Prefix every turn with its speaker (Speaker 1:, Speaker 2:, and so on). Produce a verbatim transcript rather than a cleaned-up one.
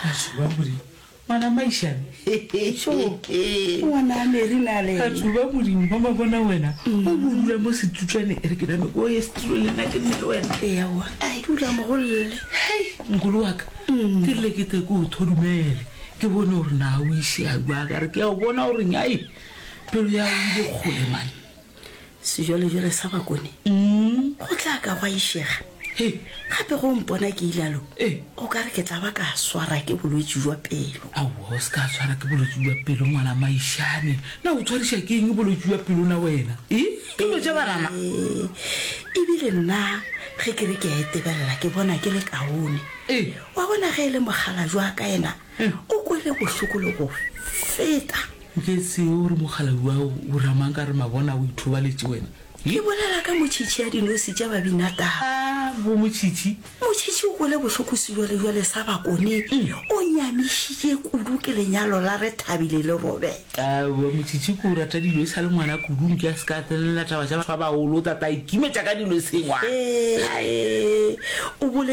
Speaker 1: Batho ba Modimo, ngwana Maišane.
Speaker 2: Ngwana Mary na le
Speaker 1: Batho ba Modimo, ba ba bona wena o bo dula mo setutlwaneng. E re ke name ko ye setulo le nna ke nne le wena.
Speaker 2: Ewa, dula mogolle.
Speaker 1: Hei, nkolo wa ka, ke rile ke tle ke o thodumele, ke bone gore na o išea jwang. Ka re ke a o bona gore nyai pelo ya o ile kgole mane.
Speaker 2: Sejwalejwale sa Bakone go tla ka gwa išega.
Speaker 1: Hei.
Speaker 2: Gape go mpona ke ilalo,
Speaker 1: Ee.
Speaker 2: o ka re ke tla ba ka swara ke bolwetši jwa pelo.
Speaker 1: Aowa, o se ka tshwara ke bolwetši bja pelo, ngwana Maišane. Na o tshwariša ke eng bolwetši bja pelo na wena? E, ke dilo tša banana.
Speaker 2: Ee, ebile nna ge ke re ke a etebelela ke bona ke le kaone.
Speaker 1: Ee.
Speaker 2: Wa bona ge e le mokgalabje wa ka yena,
Speaker 1: Ee.
Speaker 2: o kwele bohloko le go feta.
Speaker 1: Nke tsebe gore mokgalabje wa o ramang ka re mabona o ithobaletše wena.
Speaker 2: Ke bolela ka motšhitšhi ya dinose tša Babinataba.
Speaker 1: A bo motšhitšhi.
Speaker 2: Motšhitšhi o kwele bohloko sejwalejwale sa Bakone, o nyamišitše kudu ke lenyalo la Rethabile le Robert.
Speaker 1: Aowa, motšhitšhi ke o rata dilo e sa le ngwana kudu, nke a se ka tsenelela taba tša batho ba bagolo, o tla tla ikimetša ka dilo e seng ngwana.
Speaker 2: Ee, o boletše.